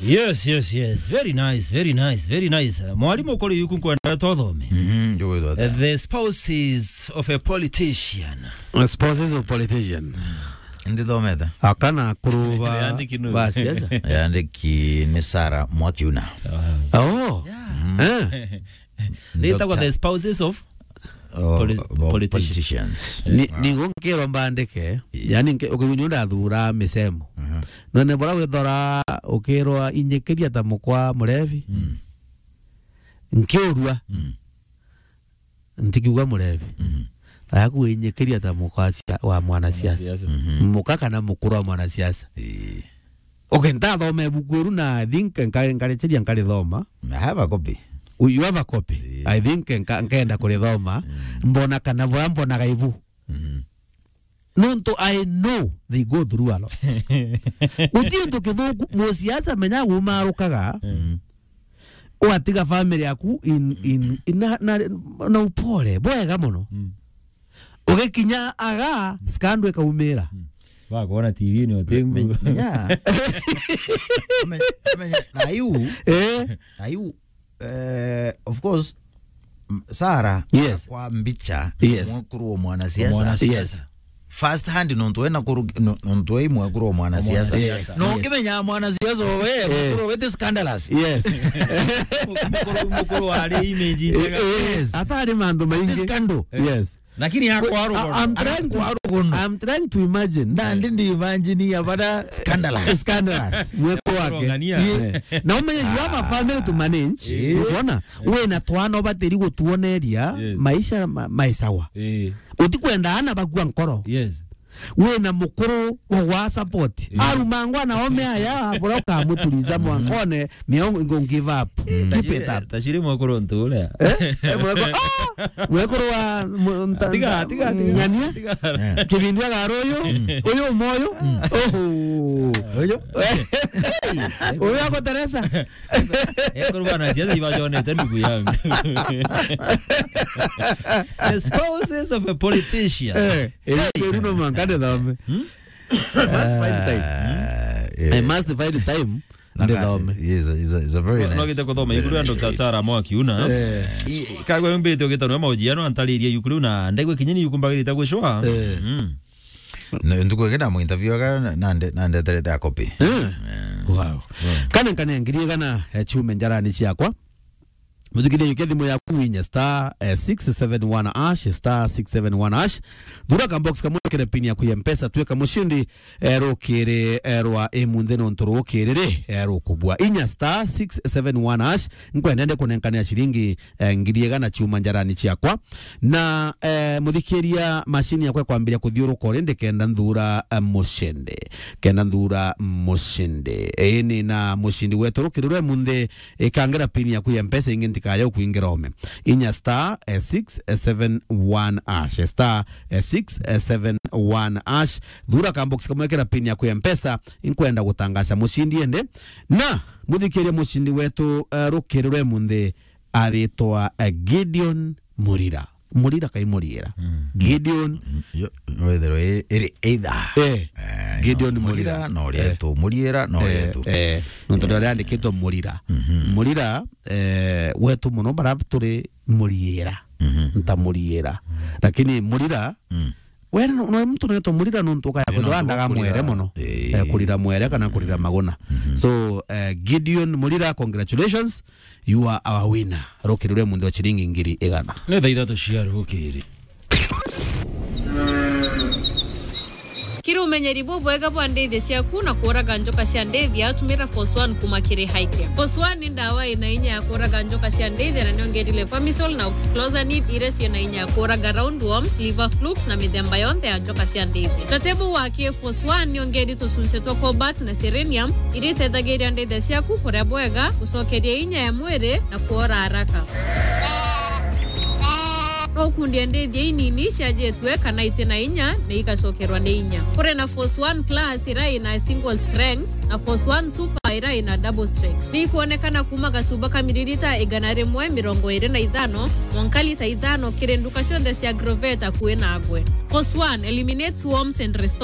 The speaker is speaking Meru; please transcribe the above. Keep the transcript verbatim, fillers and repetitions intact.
Yes, yes, yes. Very nice, very nice, very nice. Mwalimu, kuri yuku nkwenda twathome. Mhm, ndio. Uh, the spouses of a politician. The spouses of politician. Ndithomete. Akana kuruba. Yandiki nu. Basi, yes. Yandiki ni Sarah Mwakiuna. Oh. Yeah. Eh. Nitagwa the spouses of Oh, poli-, about politician. Politicians. Ni, ni gunkirwa mbandike, yani, nke-, ukigwini undathura misemo. Mhm. None bora withora ukirwa inyikiria ta mukwa murevi. Mm. Nkiurua. Mm. Ntikiuga murevi. Mm. Na yaku inyikiria ta mukwa cia-, wa mwanasiasa. Mwanasiasa. Mhm. Muka kana mukuru wa mwanasiasa. Ii. Okay, ntathoma ibuku iru na I think nka-, nkarichiria nkarithoma. I have a copy. You have a copy? Yeah. I think nka-, nkenda kurithoma. Mm. Mbona kana bura mbonaga ibu. Mm. Nontu I know they go through a lot. Guti untu kithuku, musiasa menya gumarukaga. Mm. Watiga family yaku in, in, in na, na, na upole. Bwega muno. Mm. Ugikinya aga, scandal ikaumira. Mm. Wakwona T V-ini otengu. Me-, menya. Ame-, amenya, na yu, eh? Na yu, eh, of course, m-, Sarah, yes, kwa mbicha, yes, mwekuru wa mwanasiasa. Mwanasiasa. Yes. First hand, nontu ena kuru-, no-, nontu ei mwekuru wa mwanasiasa. Mwanasiasa. Yes, no, yes. Ukimenya mwanasiasa we, eh, mukuru wete scandalous. Yes. Mukuru, mukuru wa ari image njega. Yes. Atari mandu maingi. Scandal. Yes. Lakini akwarugono. I-, I'm trying to, akwarugono. I'm trying to imagine. Nandi ndi imagine ya bada scandalous. Scandalous. Mweko wake. Kurongania. Yeah. Na umenye you have a family to manage. Yeah. Unaona? Wina twana ubatiri gutuoneria, yes, maisha ma-, maisawa. Yeah. Utikwenda ana bakua nkoro. Yes. Wina mukuru wa gwa support. Yeah. Arumangwa na ome aya, bora ukamuturiza mwankone, miongo ingo give up. Mm. Keep it up. Tashiri mwekuru ntu uria. Eh? Eh, mwekuru, ah! Mwekuru wa mu-, nta-, tiga, tiga, tiga, ng'ania. Tiga. Eh. Kibindu agaruyu, mm, uyu moyo. Mm. Oho. Uyu. Uyu agoteresa. Ekuru bana ciana ibajonete ndugu yangu. The spouses of a politician. Eh, eh, hey. Runo mankane dhambe. Hmm? Must find time. Ah, yeah. I must find time. Ndithome. Is a, is a, is a very nice. No, no, gite kuthoma, very iburu ya nice Doctor read. Sarah Mwakiuna. Eh. I, kagwe mbite ugita no maujiano antaririe yukuru na ndaigwe kinyini yukumbagirite gucwa. Eh. Mm. Na ntuku ingi ndamu interview aga na, na nde-, na ndeterete a copy. Eh. Eh. Wow. Mm. Kana nkane ngiri igana, eh, chume njarani ciakwa. Muthikiriria, jukia thimu yaku, winya star, eh, six seven one hash, star six seven one hash. Thura ka box kamwe, kire pin yaku ya Mpesa, twika mushindi, eh, rukiri, eh, rwa imunthi nontu rukiri ri, eh, rukubua. Inya star six seven one hash, nkwenda ndi kunenkania ciringi, eh, ngiri igana chuma njarani ciakwa. Na, eh, muthikiria, mashini yakwa ikwambiria kuthiuruka uri ndikenda nthura, eh, mushindi. Kenda nthura mushindi. Ii, ni na mushindi wetu rukiri rwa imunthi. Ikangira pin yaku ya Mpesa ingi ntikaya ukwingira ome. Inya star, eh, six seven one hash. Star, eh, six seven one hash. Thura ka box kamwe, kira pin yaku ya Mpesa, inkwenda gutangaza mushindi ende. Na muthikiria, mushindi wetu, eh, rukiri rwa imunthi aritwa, eh, Gideon Murira. Murira kai Muriira? Mm. Gideon. Mm, yo, wethero i-, iri either. Eh. Eh, Gideon no Murira. Murira, no Rietu. Eh. Muriira, no Rietu. Eh. Nontu ndio riandikitwe Murira. Mhm. Murira, eh, wetu muno bara turi Muriira. Mhm. Nta Muriira. Lakini Murira, mm, we no, no muntu unaitwa Murira nontu ukaya kwithirwa ndaga mwere muno. Eh. Eh, kurira mwere kana kurira maguna. Mhm. So, eh, Gideon Murira, congratulations. You are our winner. Rukiri rwa imunthi wa ciringi ngiri igana. Ni thaa ithatu cia rukiri. Kiri umenyeri bubwega bwa ndithia ciaku na kuuraga njoka cia ndithia, tumira Force One kuma kiri Highcare. Force One ni ndawa ina inya ya kuuraga njoka cia ndithia na niongerile Pamisol na Oxyclosanid, iria ciina inya ya kuuraga roundworms, liver flukes na mithemba yonthe ya njoka cia ndithia. Tatebu wa K Force One niongeri tucunci twa cobalt na selenium, iria itethagiria ndithia ciaku kuria bwega, gucokeria inya ya mwiri na kuora haraka. No ukundie ndithia inini ciajitwe kana iti na inya na igacokerwa ni inya. Kuri na Force One Plus iria ina single strength na Force One Super iria ina double strength. Ni ikwonekana kuma gacuba ka miririta igana rimwe mirongo iri na ithano mwanka lita ithano kiri nduka cionthe cia Agrovet akui nagwe. Force One eliminates worms and restores